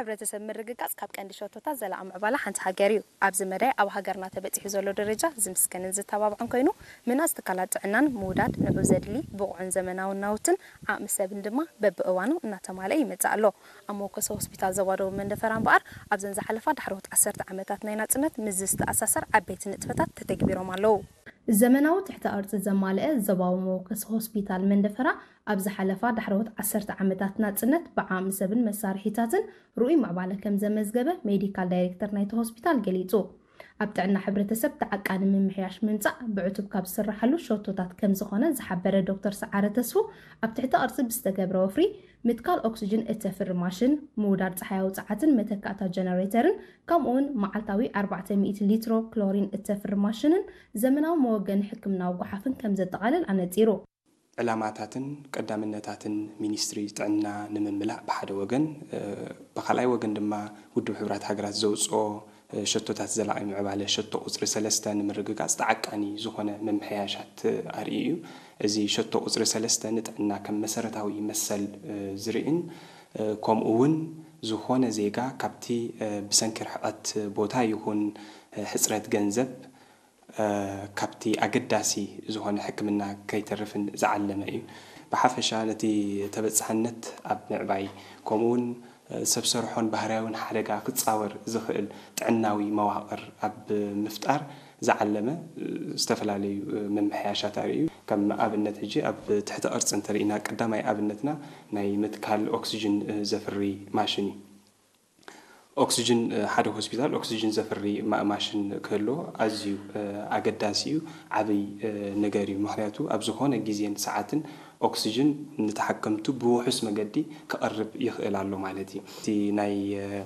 ሕብረተሰብ ምርግጋጽ ካብ ቀንዲ ሸቶታት ዘላቒ ምዕባለ ሓንቲ ሃገር እዩ። ኣብዚ መዳይ ኣብ ሃገርና ተበጺሑ ዘሎ ደረጃ ዝምስገንን ዝተባብዕን ኮይኑ፣ ምህናጽ ትካላት ጥዕናን ምውዳድ ንዑ ዘድሊ ብቑዕን ዘመናውን ናውትን ዓቕሚ ሰብን ድማ በብእዋኑ እናተማልአ ይመጽእ ኣሎ። ኣብ መወከሲ ሆስፒታል ዞባ ደቡብ መንደፈራ እምበኣር ኣብዘን ዝሓለፋ ዳሕረዎት ዓሰርተ ዓመታት ናይ ናጽነት ምስዚ ዝተኣሳሰር ዓበይቲ ንጥፈታት ተተግቢሮም ኣለዉ። ዘመናዊ ትሕተ ቅርጺ ዘማልአ ዞባዊ መወከሲ ሆስፒታል መንደፈራ ኣብ ዝሓለፋ ዳሕረዎት ዓሰርተ ዓመታት ናጽነት ብዓቕሚ ሰብን መሳርሒታትን ርኡይ ምዕባለ ከም ዘመዝገበ ሜዲካል ዳይሬክተር ናይቲ ሆስፒታል ገሊጹ። ኣብ ጥዕና ሕብረተሰብ ተዓቃኒ ምምሕያሽ ምምጻእ ብዕቱብ ካብ ዝስርሓሉ ሸቶታት ከም ዝኾነ ዝሓበረ ዶክተር ሰዓረ ተስፉ፣ ኣብ ትሕተ ቅርጺ ብዝተገብረ ወፍሪ ምትካል ኦክስጅን እተፍሪ ማሽን፣ ምውዳድ ጸሓያዊ ጸዓትን መተካእታ ጀነሬተርን፣ ከምኡ እውን መዓልታዊ ኣርባዕተ ሚእቲ ሊትሮ ክሎሪን እተፍሪ ማሽንን ዘመናዊ መወገኒ ሕክምናዊ ጓሓፍን ከም ዘጠቓልል ኣነጺሩ። ዕላማታትን ቀዳምነታትን ሚኒስትሪ ጥዕና ንምምላእ ብሓደ ወገን፣ እ፣ ብኻልኣይ ወገን ድማ ውድብ ሕቡራት ሃገራት ዘውፅኦ፣ እ፣ ሸቶታት ዘላቒ ምዕባለ ሸቶ ቁፅሪ ሰለስተ ንምርግጋፅ ተዓቃኒ ዝኾነ ምምሕያሻት ኣርእዩ እዩ። እዚ ሸቶ ቁፅሪ ሰለስተ ንጥዕና ከም መሰረታዊ መሰል፣ እ፣ ዝርእን፣ እ፣ ከምኡ እውን ዝኾነ ዜጋ ካብቲ፣ እ፣ ብሰንኪ ርሕቐት ቦታ ይኹን፣ እ፣ ሕፅረት ገንዘብ፣ እ፣ ካብቲ ኣገዳሲ ዝኾነ ሕክምና ከይተርፍን ዝዓለመ እዩ። ብሓፈሻ ነቲ ተበጻሕነት ኣብ ምዕባይ፣ ከምኡውን፣ እ፣ ሰብ ሰርሖን ባህርያውን ሓደጋ ክጻወር ዝኽእል ጥዕናዊ መዋቕር ኣብ ምፍጣር ዝዓለመ፣ እ፣ ዝተፈላለዩ፣ እ፣ ምምሕያሻት ኣርእዩ። ከም ኣብነት ሕጂ ኣብ ትሕቲ ቅርጺ እንተርኢና፣ ቀዳማይ ኣብነትና ናይ ምትካል ኦክስጅን፣ እ፣ ዘፍሪ ማሽን እዩ። ኦክስጅን፣ እ፣ ሓደ ሆስፒታል ኦክስጅን ዘፍሪ ማ-፣ ማሽን ክህልዎ ኣዝዩ፣ እ፣ ኣገዳሲ እዩ፣ ዓብይ፣ እ፣ ነገር እዩ። ምኽንያቱ ኣብ ዝኾነ ግዜን ሰዓትን ኦክስጅን ንተሓከምቱ ብውሑስ መገዲ ክቐርብ ይኽእል ኣሎ ማለት እዩ። እቲ ናይ፣ እ፣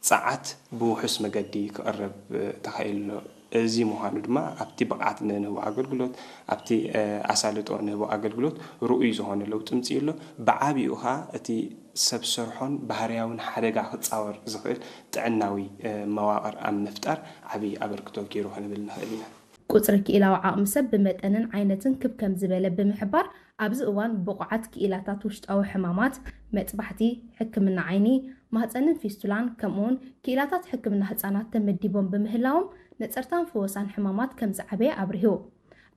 ጸዓት ብውሑስ መገዲ ክቐርብ፣ እ፣ ተኻኢሉ ኣሎ። እዚ ምዃኑ ድማ ኣብቲ ብቕዓት ንህቦ ኣገልግሎት፣ ኣብቲ፣ እ፣ ኣሳልጦ ንህቦ ኣገልግሎት ርኡይ ዝኾነ ለውጢ ምጽኡ ኣሎ። ብዓቢኡ ኸኣ እቲ ሰብ ሰርሖን ባህርያውን ሓደጋ ክጻወር ዝኽእል ጥዕናዊ፣ እ፣ መዋቕር ኣብ ምፍጣር ዓቢ ኣበርክቶ ገይሩ ክንብል ንኽእል ኢና። ቁጽሪ ክኢላዊ ዓቕሚ ሰብ ብመጠንን ዓይነትን ክብ ከም ዝበለ ብምሕባር፣ ኣብዚ እዋን ብቑዓት ክኢላታት ውሽጣዊ ሕማማት፣ መጥባሕቲ፣ ሕክምና ዓይኒ፣ ማህጸንን ፊስቱላን፣ ከምኡውን ክኢላታት ሕክምና ህጻናት ተመዲቦም ብምህላዎም፣ ነጸርታን ፍወሳን ሕማማት ከም ዝዓበየ ኣብሪሁ።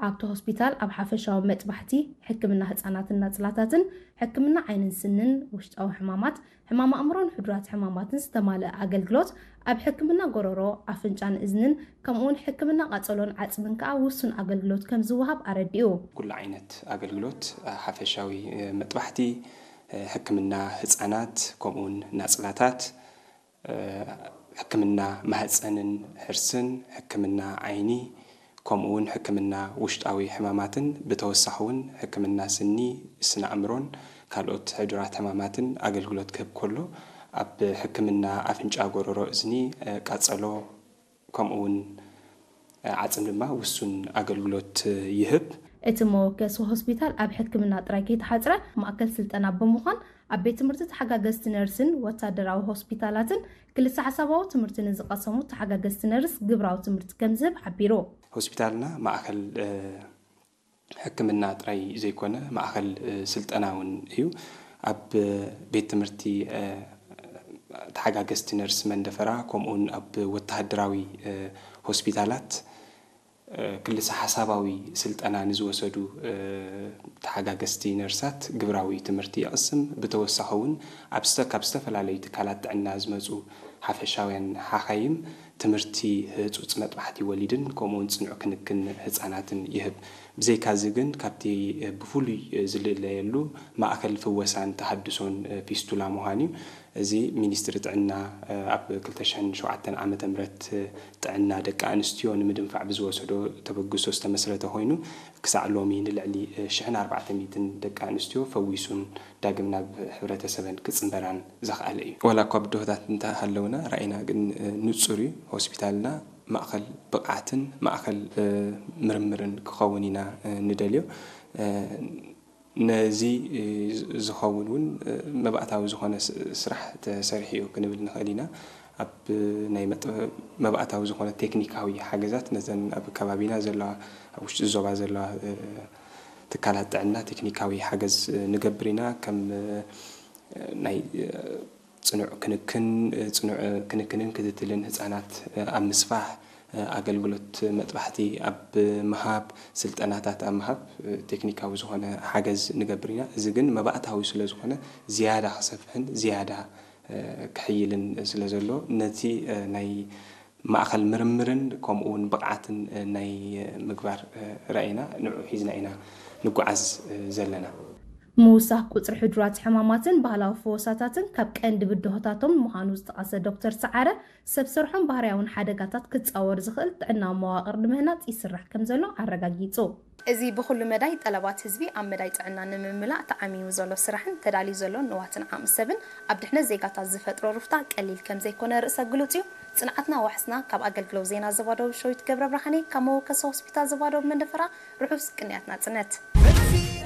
ኣብቲ ሆስፒታል ኣብ ሓፈሻዊ መጥባሕቲ፣ ሕክምና ህጻናትን ናጽላታትን፣ ሕክምና ዓይንን ስንን፣ ውሽጣዊ ሕማማት፣ ሕማም ኣእምሮን ሕዱራት ሕማማትን ዝተማልአ ኣገልግሎት፣ ኣብ ሕክምና ጎረሮ፣ ኣፍንጫን እዝንን፣ ከምኡውን ሕክምና ቃጸሎን ዓጽምን ከኣ ውሱን ኣገልግሎት ከም ዝወሃብ ኣረዲኡ። ኩሉ ዓይነት ኣገልግሎት፣ ሓፈሻዊ መጥባሕቲ፣ ሕክምና ህጻናት፣ ከምኡውን ናጽላታት፣ ሕክምና ማህጸንን ሕርስን፣ ሕክምና ዓይኒ፣ ከምኡውን ሕክምና ውሽጣዊ ሕማማትን ብተወሳኺ እውን ሕክምና ስኒ፣ ስነ ኣእምሮን ካልኦት ሕዱራት ሕማማትን ኣገልግሎት ክህብ ከሎ፣ ኣብ ሕክምና ኣፍንጫ፣ ጎረሮ፣ እዝኒ፣ ቃጸሎ ከምኡውን ዓጽም ድማ ውሱን ኣገልግሎት ይህብ። እቲ መወከሲ ሆስፒታል ኣብ ሕክምና ጥራይ ከይተሓጽረ ማእከል ስልጠና ብምዃን ኣብ ቤት ትምህርቲ ተሓጋገዝቲ ነርስን ወታደራዊ ሆስፒታላትን ክልተ ሓሳባዊ ትምህርቲ ንዝቐሰሙ ተሓጋገዝቲ ነርስ ግብራዊ ትምህርቲ ከም ዝህብ ሓቢሩ። ሆስፒታልና ማእከል፣ እ፣ ሕክምና ጥራይ ዘይኮነ ማእከል፣ እ፣ ስልጠና እውን እዩ። ኣብ ቤት ትምህርቲ፣ እ፣ ተሓጋገዝቲ ነርስ መንደፈራ ከምኡውን ኣብ ወታደራዊ፣ እ፣ ሆስፒታላት፣ እ፣ ክልሰ ሓሳባዊ ስልጠና ንዝወሰዱ፣ እ፣ ተሓጋገዝቲ ነርሳት ግብራዊ ትምህርቲ ይቕስም። ብተወሳኺ እውን ኣብ ዝተ-፣ ካብ ዝተፈላለዩ ትካላት ጥዕና ዝመጹ ሓፈሻውያን ሓኻይም ትምህርቲ ህጹጽ መጥባሕቲ ወሊድን ከምኡውን ጽኑዕ ክንክን ህጻናትን ይህብ። ብዘይካዚ ግን ካብቲ፣ እ፣ ብፍሉይ፣ እ፣ ዝልለየሉ ማእከል ፍወሳን ተሃድሶን፣ እ፣ ፊስቱላ ምዃን እዩ። እዚ ሚኒስትሪ ጥዕና፣ እ፣ ኣብ ክልተ ሽሕን ሸውዓተን ዓመተ ምህረት፣ እ፣ ጥዕና ደቂ ኣንስትዮ ንምድንፋዕ ብዝወሰዶ ተበግሶ ዝተመስረተ ኮይኑ፣ ክሳዕ ሎሚ ንልዕሊ፣ እ፣ ሽሕን ኣርባዕተ ሚእትን ደቂ ኣንስትዮ ፈዊሱን ዳግም ናብ ሕብረተሰበን ክጽንበራን ዘኽኣለ እዩ። ዋላ እኳ ብድሆታት እንተሃለውና፣ ራኢና ግን፣ እ፣ ንጹር እዩ። ሆስፒታልና ማእከል ብቕዓትን ማእከል፣ እ፣ ምርምርን ክኸውን ኢና፣ እ፣ ንደልዮ። እ፣ ነዚ፣ እ፣ ዝ-፣ ዝኸውን እውን፣ እ፣ መባእታዊ ዝኾነ ስ-፣ ስራሕ ተሰሪሑ እዩ ክንብል ንኽእል ኢና። ኣብ ናይ መጥ-፣ መባእታዊ ዝኾነ ቴክኒካዊ ሓገዛት ነዘን ኣብ ከባቢና ዘለዋ፣ ኣብ ውሽጢ ዞባ ዘለዋ፣ እ፣ ትካላት ጥዕና ቴክኒካዊ ሓገዝ፣ እ፣ ንገብር ኢና። ከም፣ እ፣ ናይ፣ እ፣ ፅኑዕ ክንክን ፅኑዕ ክንክንን ክትትልን ህፃናት ኣብ ምስፋሕ፣ ኣገልግሎት መጥባሕቲ ኣብ ምሃብ፣ ስልጠናታት ኣብ ምሃብ፣ ቴክኒካዊ ዝኾነ ሓገዝ ንገብር ኢና። እዚ ግን መባእታዊ ስለ ዝኾነ ዝያዳ ክሰፍሕን ዝያዳ ክሕይልን ስለ ዘሎ፣ ነቲ ናይ ማእኸል ምርምርን ከምኡ እውን ብቕዓትን ናይ ምግባር ራእይና ንዑ ሒዝና ኢና ንጓዓዝ ዘለና። ምውሳኽ ቁፅሪ ሕዱራት ሕማማትን ባህላዊ ፈወሳታትን ካብ ቀንዲ ብድሆታቶም ምዃኑ ዝጠቐሰ ዶክተር ሰዓረ፣ ሰብ ሰርሖን ባህርያውን ሓደጋታት ክፃወር ዝኽእል ጥዕናዊ መዋቕር ንምህናፅ ይስራሕ ከም ዘሎ ኣረጋጊፁ። እዚ ብኹሉ መዳይ ጠለባት ህዝቢ ኣብ መዳይ ጥዕና ንምምላእ ተዓሚሙ ዘሎ ስራሕን ተዳልዩ ዘሎ ንዋትን ዓቕሚ ሰብን ኣብ ድሕነት ዜጋታት ዝፈጥሮ ሩፍታ ቀሊል ከም ዘይኮነ ርእሰ ግሉጽ እዩ። ጽንዓትና ዋሕስና። ካብ ኣገልግሎት ዜና ዞባ ደቡብ ሸዊት ገብረ ብርሃኔ ካብ መወከሲ ሆስፒታል ዞባ ደቡብ መንደፈራ ርሑስ ቅንያት ናጽነት።